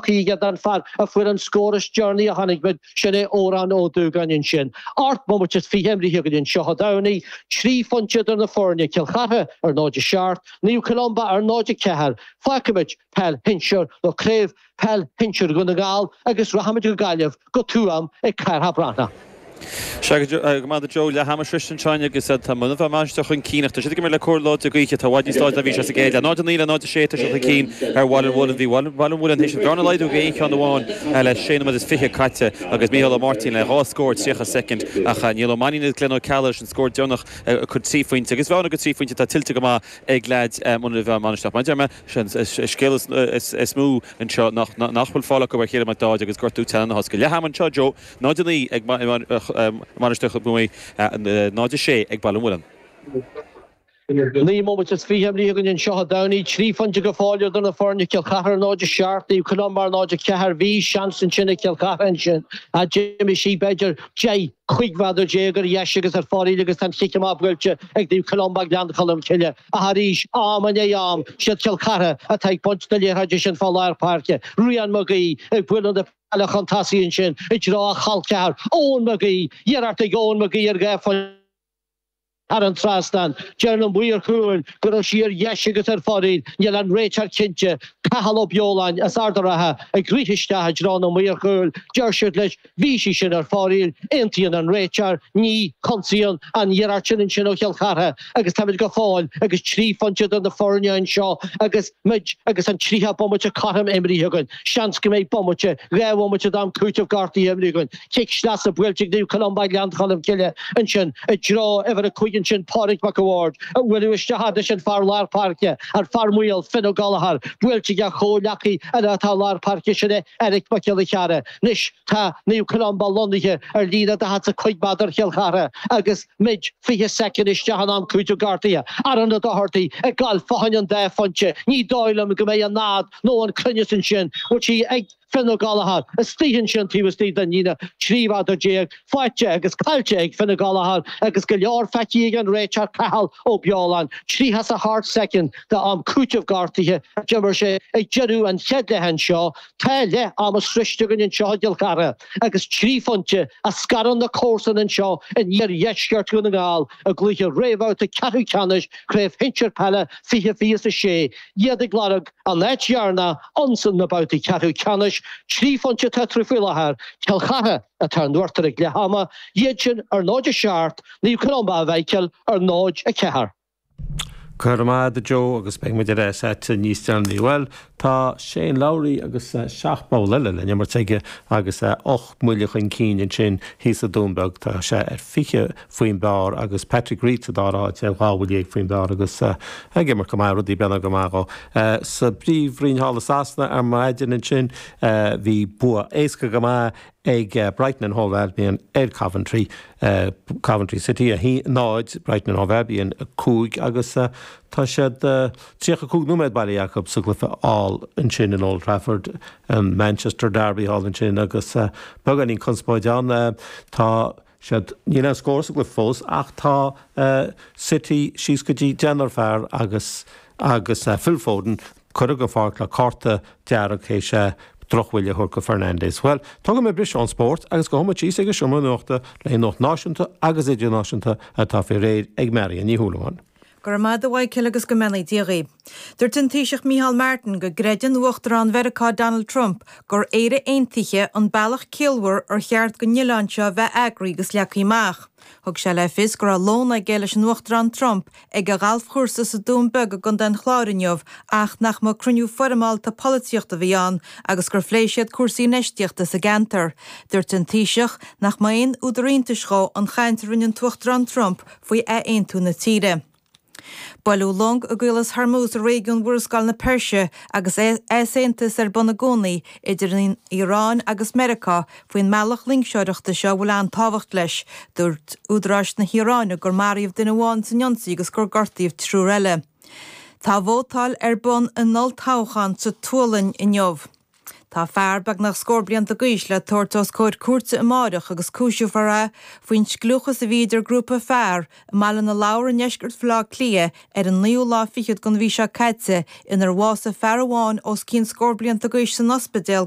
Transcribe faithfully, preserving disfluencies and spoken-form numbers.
tugtha aige don fear a fuair an scór is deireanaí a chonaic muid, sin é Odhrán Ó Dúgáin ansin. Ocht mbomaite is fiche imrithe againn anseo Dé Domhnaigh, trí phointe idir na foirne, Cill Chartha ar náid a seacht, Naomh Columba ar náid a ceathair. Fágfaimid peil shinsir nó craobh peil shinsir Dhún na nGall agus rachaimid go Gaillimh, go Tuaim ag Cárthach Breathnach. Sea, go maith a Joe, leath ama sroiste anseo agus tá Muine Mheá Mainistir chun cinn ach tá siad ag imirt le cóir láidir gaoithe. Tá i bhfad níos láidre ná bhí sé sa gcéad leath. náid a naoi le náid a sé tá siad chun cinn ar Bhaile an Mhuilinn. Bhí Baile an Mhuilinn théis an bhearna a laghdú go aon cheann amháin le sé nóiméad is fiche caite agus Mícheál Ó Máirtín le dhá scór tríocha soicind ach Niall Ó Mainnín agus Glenn Ó Ceallaigh leis an scór deireanach a chuir trí phointe agus bhearna go trí phointe atá tuillte go maith ag leaids Muine Mheá Mainistir. Mar a deir mé, sé an scéal is mó anseo nach bhfuil fáil acu ar Chéile Mac Dáid agus gortú teannán a thosca. Leath ama anseo, Joe, náid a naoi ag Mainistir Mhuigh Eo, náid a sé ag Baile an Mhuilinn. Naoi mbomaite is fiche imrithe againn anseo Dé Domhnaigh, trí phointe go fóill idir na foirne, Cill Chartha ar náid a seacht, Naomh Columba ar náid a ceathair. Bhí seans ansin ag Cill Chartha ansin ach d'imigh sí b'fhéidir deich, cúig mhéadar déag ar dheis agus ar foraíl agus tá an chic amach buailte ag Naomh Columba Gleann Cholm Cille. Ach arís, am i ndiaidh am, siad Cill Chartha atá ag baint na liathróide sin fá lár páirce. Rian Mag Aoidh ag bualadh na peile chun tosaigh ansin i dtreo a chol ceathar, Eoin Mag Aoidh. Iarracht ag Eoin Mag Aoidh ar dhá phointe thar an trasnán. Deir na maoir chúil go raibh sí ar dheis agus ar foraíl. Níl an réiteoir cinnte. Cathal Ó Beoláin as Ard an Rátha ag rith isteach i dtreo na maor chúil. Deir siad leis, bhí sí sin ar foraíl. Aontaíonn an réiteoir. Ní chonsaíonn an iarracht sin ansin ó Chill Chartha agus táimid go fóill agus trí phointe idir na foirne anseo agus muid agus an tríocha bomaite cothrom imrithe againn. Seans go mbeidh bomaite, dhá bhomaite d'am cúitimh gortaithe imrithe againn. Cic sleasa buailte ag Naomh Columba Ghleann Cholm Cille ansin i dtreo uimhir a cúig ansin Pádraig Mac a' Bhaird a bhuaileadh isteach leis an fear lár páirce, an fear maol, Finn Ó Gallchóir, buailte ag a chomhghleacaí eile atá i lár páirce, sin é Eric Mac Giolla Chearra. Anois tá Naomh Columba lonnaithe ar líne daichead 's a cúig méadar Chill Chartha agus muid fiche soicind isteach in am cúiteamh gortaithe. Aaron Ó Dochartaigh ag gabháil fá choinne an dá phointe. Ní dóigh liom go mbeidh an fhad nó an cruinneas ansin. Bhfuil sí ag Finn Ó Gallchóir istigh ansin taobh istigh den líne trí mhéadar déag, faighte agus caillte ag Finn Ó Gallchóir agus go leor feicthe ag an réiteoir Cathal Ó Beoláin. Tríocha 's a hocht soicind d'am cúiteamh gortaithe a d'imir sé ag deireadh an chéad leath anseo. Tá leath ama sroiste againn anseo i gCill Chartha agus trí phointe a scarann na comharsana anseo in iardheisceart Dhún na nGall i gcluiche réamhbhabhta ceathrú ceannais Chraobh Shinsir Peile fiche fiche is a sé. Iad ag lorg an áit dheireanach ionsan na babhtaí ceathrú ceannais. Trí phointe atá eatarthu faoi láthair, Cill Chartha atá in uachtar ag leath ama, iad sin ar náid a seacht, Naomh Columba a Mhichael ar náid a ceathair. Go raibh maith agat a Joe agus beidh muid ar ais agat níos deireanaí. Bhuel, tá Shane Lowry agus seacht bpoll eile le n-imirt aige agus ocht mbuille chun cinn ansin thíos i Dún Beag. Tá sé ar fiche faoin bpar agus Patrick Reed sa dara háit ar dhá bhuille dhéag faoin bpar agus ag imirt go maith, rudaí ag breathnú go maith dhó. Sa bPríomhroinn thall i Sasana ar maidin ansin bhí bua éasca go maith ag Brighton and Hove Albion ar Coventry, Coventry City a haon náid, Brighton and Hove Albion a cúig agus tá siad tríocha cúig nóiméad bailithe acu sa gcluiche thall ansin in Old Trafford, an Manchester Derby thall ansin agus beagáinín conspóid ann. Tá siad, níl aon scór sa gcluiche fós ach tá City síos go dtí deichniúr fear agus agus Phil Foden curtha den pháirc le cárta dearg théis drochbhuille a thabhairt go Fernandes. Bhuel, tógfaidh mé briseadh ón spórt agus gabhfaidh muid síos ag an seomra nuachta le nuacht náisiúnta agus idirnáisiúnta atá faoi réir ag Marion Ní Shúilleabháin. Go raibh maith agat a Mhichael agus go mbeannaí Dia dhaoibh. Dúirt an Taoiseach Micheál Martin go gcreideann Uachtarán Mheiriceá Donald Trump gur Éire aontaithe an bealach ciallmhar ar cheart don oileán seo a bheith eagraithe agus leagtha amach. Thug sé le fios go raibh lón aige leis an Uachtarán Trump ag a ghalfchúrsa sa Dún Beag i gContae an Chláir inniu ach nach mba cruinniú foirmeálta polaitíochta a bhí ann agus gur phléigh siad cúrsaí infheistíochta sa gceantar. Dúirt an Taoiseach nach mba aon údar iontais dhó an chaint a rinne an tUachtarán Trump faoi athaontú na tíre. Buaileadh long i gCaolas Hormuz i réigiún Mhurascaill na Peirse agus easaontas ar bun i gcónaí idir an Iaráin agus Meiriceá faoin mbealach loingseoireachta seo a bhfuil an-tábhacht leis. Dúirt údaráis na hIaráine gur maraíodh duine amháin san ionsaí agus gur gortaíodh triúr eile. Tá vótáil ar bun in olltoghchán sa tSualainn inniu. Tá fear beagnach scór blianta d'aois le tabhairt os comhair cúirte amáireach agus cúiseofar é faoin scliúchas a bhí idir grúpa fear i mBaile na Lobhar i ndeisceart Bhaile Átha Cliath ar an naoú lá fichead den mhí seo caite inar bhásaigh fear amháin os cionn scór blianta d'aois san ospidéal go